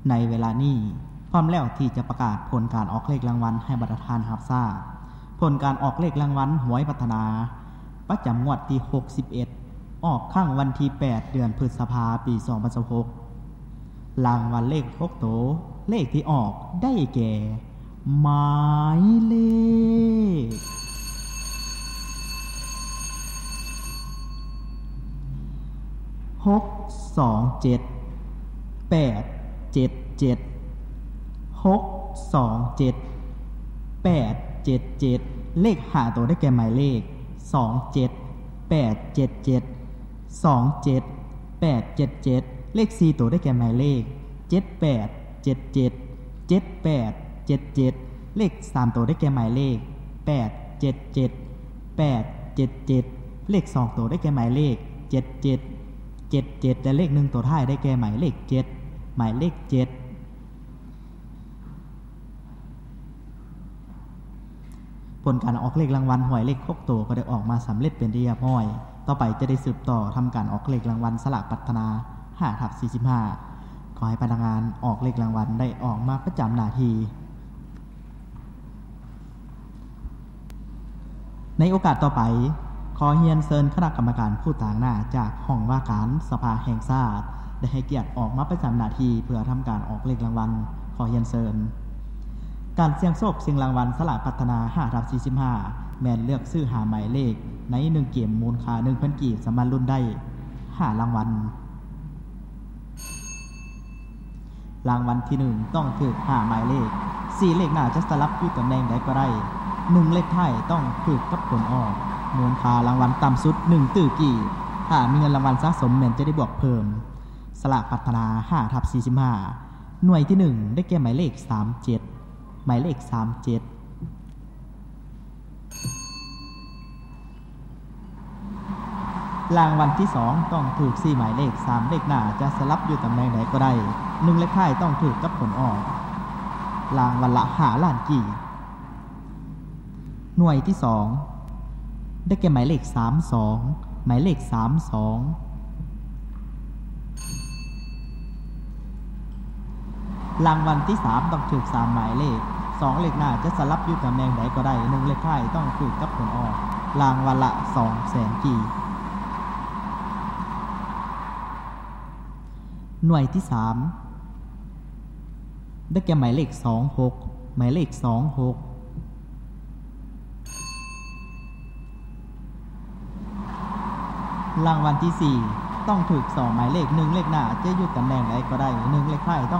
ໃນເວລານີ້ ພ້ອມແລ້ວທີ່ຈະປະກາດຜົນການອອກເລກລາງວັນໃຫ້ບັນດາທ່ານຮັບຊາບ. ຜົນການອອກເລກລາງວັນຫວຍພັດທະນາ ປະຈຳງວດທີຫົກສິບເອັດ ອອກຄັ້ງວັນທີແປດ ເດືອນພຶດສະພາ ປີສອງພັນຊາວຫົກ. ລາງວັນເລກຫົກໂຕ ເລກທີ່ອອກໄດ້ແກ່ ໝາຍເລກ ຫົກສອງເຈັດ ແປດເຈັດເຈັດ ຫົກສອງເຈັດ ແປດເຈັດເຈັດ. ເລກຫ້າໂຕໄດ້ແກ່ໝາຍເລກ ສອງເຈັດ ແປດເຈັດເຈັດ ສອງເຈັດ ແປດເຈັດເຈັດ. ເລກສີ່ໂຕໄດ້ແກ່ໝາຍເລກ ເຈັດແປດເຈັດເຈັດ ເຈັດແປດເຈັດເຈັດ. ເລກສາມໂຕໄດ້ແກ່ໝາຍເລກ ແປດເຈັດເຈັດ ແປດເຈັດເຈັດ. ເລກສອງໂຕໄດ້ແກ່ໝາຍເລກ ເຈັດເຈັດ ເຈັດເຈັດ ແລະ ເລກໜຶ່ງໂຕທ້າຍໄດ້ແກ່ໝາຍເລກເຈັດ ໝາຍເລກເຈັດ. ຜົນການອອກເລກລາງວັນຫວຍເລກຫົກໂຕກໍໄດ້ອອກມາສຳເລັດເປັນທີ່ຮຽບຮ້ອຍ. ຕໍ່ໄປຈະໄດ້ສືບຕໍ່ທຳການອອກເລກລາງວັນສະຫຼາກພັດທະນາ ຫ້າທັບສີ່ສິບຫ້າ. ຂໍໃຫ້ພະນັກງານອອກເລກລາງວັນໄດ້ອອກມາປະຈຳໜ້າທີ່. ໃນໂອກາດຕໍ່ໄປ, ຂໍຮຽນເຊີນຄະນະກຳມະການຜູ້ຕາງໜ້າຈາກຫ້ອງວ່າການສະພາແຫ່ງຊາດ ໄດ້ໃຫ້ກຽດອອກມາປະຈຳໜ້າທີ່ເພື່ອທຳການອອກເລກລາງວັນ. ຂໍຮຽນເຊີນ. ການສ່ຽງໂຊກຊິງລາງວັນສະຫຼາກພັດທະນາ ຫ້າທັບສີ່ສິບຫ້າ ແມ່ນເລືອກຊື້ຫ້າໝາຍເລກໃນໜຶ່ງເກມ ມູນຄ່າໜຶ່ງພັນກີບ ສາມາດລຸ້ນໄດ້ຫ້າລາງວັນ. ລາງວັນທີໜຶ່ງ ຕ້ອງຖືກຫ້າໝາຍເລກ. ສີ່ເລກໜ້າຈະສະຫຼັບຢູ່ຕຳແໜ່ງໃດກໍໄດ້ ໜຶ່ງເລກທ້າຍຕ້ອງຖືກກັບຜົນອອກ. ມູນຄ່າລາງວັນຕ່ຳສຸດ ໜຶ່ງຕື້ກີບ. ຖ້າມີເງິນລາງວັນສະສົມ ແມ່ນຈະໄດ້ບວກເພີ່ມ. ສະຫຼາກພັດທະນາ ຫ້າທັບສີ່ສິບຫ້າ ໜ່ວຍທີໜຶ່ງ ໄດ້ແກ່ໝາຍເລກ ສາມເຈັດ ໝາຍເລກ ສາມເຈັດ. ລາງວັນທີສອງ ຕ້ອງຖືກສີ່ໝາຍເລກ. ສາມເລກໜ້າຈະສະຫຼັບຢູ່ຕຳແໜ່ງໃດກໍໄດ້ ໜຶ່ງເລກທ້າຍຕ້ອງຖືກກັບຜົນອອກ. ລາງວັນລະຫ້າລ້ານກີບ. ໜ່ວຍທີສອງ ໄດ້ແກ່ໝາຍເລກ ສາມສອງ ໝາຍເລກ ສາມສອງ. ລາງວັນທີສາມ ຕ້ອງຖືກສາມໝາຍເລກ. ສອງເລກໜ້າຈະສະຫຼັບຢູ່ຕຳແໜ່ງໃດກໍໄດ້ ໜຶ່ງເລກທ້າຍຕ້ອງຖືກກັບຜົນອອກ. ລາງວັນລະສອງແສນກີບ. ໜ່ວຍທີສາມ ໄດ້ແກ່ໝາຍເລກ ສອງຫົກ ໝາຍເລກ ສອງຫົກ. ລາງວັນທີສີ່ ຕ້ອງຖືກສອງໝາຍເລກ. ໜຶ່ງເລກໜ້າຈະຢູ່ຕຳແໜ່ງໃດກໍໄດ້ ໜຶ່ງເລກທ້າຍຕ້